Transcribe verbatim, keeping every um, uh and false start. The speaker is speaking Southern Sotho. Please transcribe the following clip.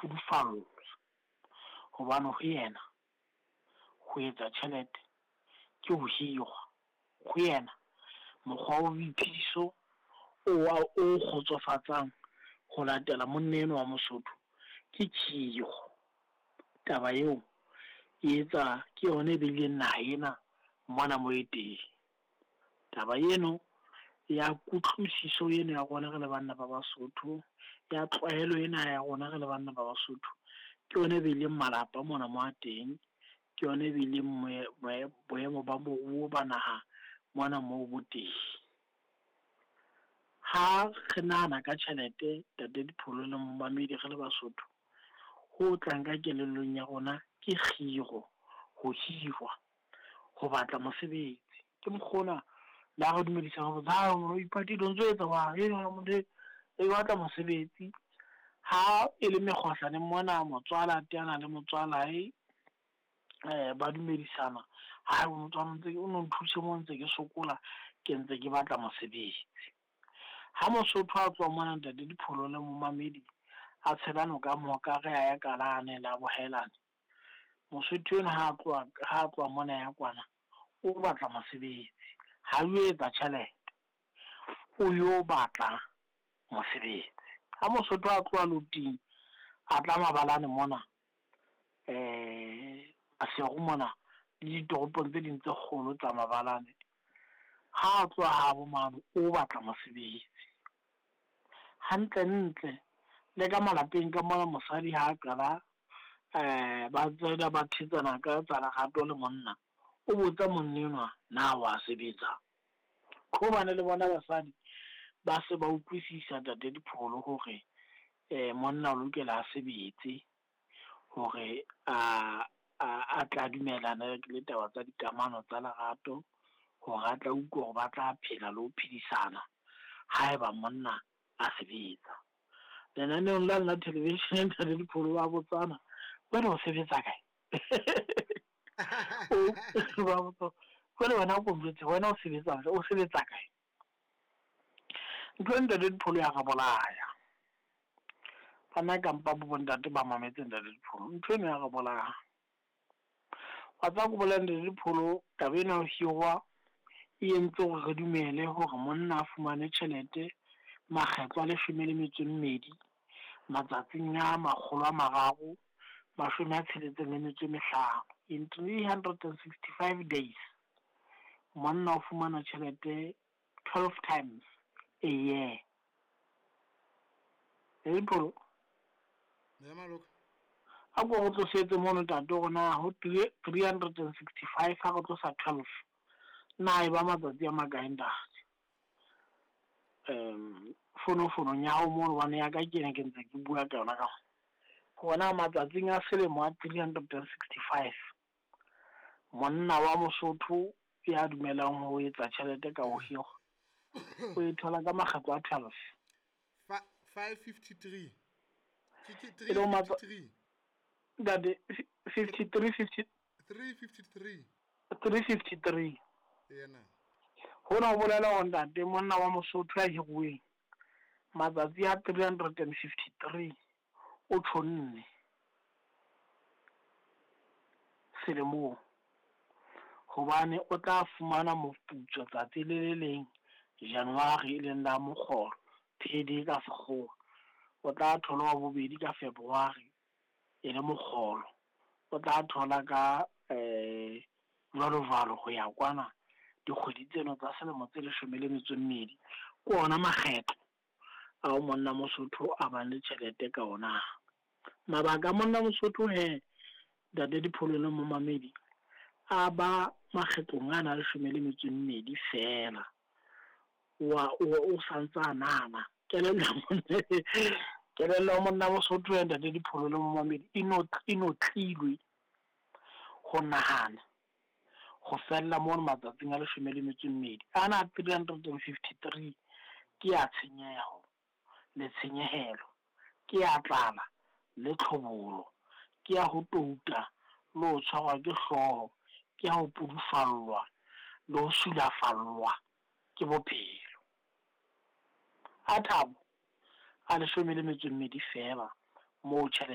pudufallwa. Hobane ho yena ho etsa tjhelete ke ho hirwa. Ho yena mokgwa wa boiphediso o wa o kgotsofatsang ho latela monna enwa wa Mosotho ke khiro. Taba eo e etsa ke yona e beileng naha ena mona mo e teng. Taba eno ya kutlwisiso eno ya rona re le banna ba Basotho, ya tlwaelo ena ya rona re le banna ba Basotho, ke yona e beileng malapa mona mo a teng, ke yona e beileng boemo ba moruo ba naha mona moo bo teng. Ha re nahana ka tjhelete ntate Dipholo le momamedi re le Basotho, ho tlang ka kelellong ya rona ke kgiro, ho hirwa, ho batla mosebetsi. Ke mokgwa ona le ha re dumedisa re botsa, o ipatile o ntso etsa jwang, e batla mosebetsi. Ha e le mekgohlaneng mona, motswala a teana le motswalae, ba dumedisana, ha motswala ntse o no nthuse mo ntse ke sokola, ke ntse ke batla mosebetsi. Ha Mosotho a tswa mona ntate Dipholo le momamedi, a tshela noka Mohokare a ya kalane la bohaelane. Mosotho enwa ha tloha, ha tloha mona ya kwana, o batla mosebetsi, ha o etsa tjhelete, o yo batla mosebetsi. Ha Mosotho a tloha Loting a tla mabalane mona, eh Maseru mona le ditoropong tse ding tse kgolo tsa mabalane, ha tloha habo mane o batla mosebetsi. Hantle ntle le ka malapeng ka mona, mosadi ha qala eh ba tsena ba thetsana ka tsa lerato le monna, o botsa monna enwa na wa sebetsa. Hobane le bona basadi ba se ba utlwisisa ntate Dipholo hore eh monna o lokela a sebetse hore a a tla dumellana le taba tsa dikamano tsa lerato, hore a tla utlwa hore ba tla phela le ho phedisana haeba monna a sebetsa. Lenaneong la nna television ntate Dipholo ba botsana, wena o sebetsa kae? O ba botsa, jwale wena o ko njwetse, wena o sebetsa o sebetsa kae? Ntho e ntate Dipholo ya re bolaya. Bana kampa bo bontate ba mametse ntate Dipholo, ntho eno ya re bolaya. Wa tseba ko bolella ntate Dipholo, taba ena ya ho hirwa e entse hore re dumele hore monna a fumane tjhelete makgetlo a leshome le metso e mmedi matsatsing a makgolo a mararo mashome a tsheletseng le metso e mehlano. In three hundred and sixty five days, monna o fumana tjhelete twelve times a year. Dipholo, Ya maloka. a ko re tlosetse mono ntate hore na ho three hundred and sixty five ha re tlosa twelve, na e ba matsatsi a makae ntate? Um fonofonong ya hao mono, hobane ya ka ke ena ke ntse ke bua ka yona ka hona matsatsing a selemo a three hundred and sixty five, monna wa Mosotho ya dumelang ho etsa tjhelete ka ho hirwa o e thola ka makgetlo a twelve. Five fifty three. Ke ke E three le matsa- fifty three. Ntate, fifty three, fifty Three fifty three. three fifty three. Yena. Hona ho bolela hore ntate monna wa Mosotho ya hiruweng matsatsi a three hundred and fifty three o tjhonne selemong, hobane o tla fumana moputso tsatsi le le leng January e leng la mokgolo, payday ka sekgowa. O tla thola wa bobedi ka February e le mokgolo, o tla thola ka eh jwalo jwalo ho ya kwana dikgwedi tseno tsa selemo tse leshome le metso e mmedi. Ke ona makgetlo ao monna Mosotho a bang le tjhelete ka ona. Mabaka a monna Mosotho he ntate Dipholo le momamedi a ba makgetlong ana a leshome le metso e mmedi feela. Wa o o santsa nahana kelello ya monna, kelello ya monna Mosotho he ntate Dipholo le momamedi e no e notlilwe ho nahana ho fella mono matsatsing a leshome le metso e mmedi. Ana three hundred and fifty three ke ya tshenyeho le tshenyehelo, ke ya tlala le tlhobolo, ke ya ho touta le ho tshwarwa ke hlooho, ke ya ho pudufallwa le ho sulafallwa ke bophelo. A thabo a leshome le metso e mmedi feela moo tjhelete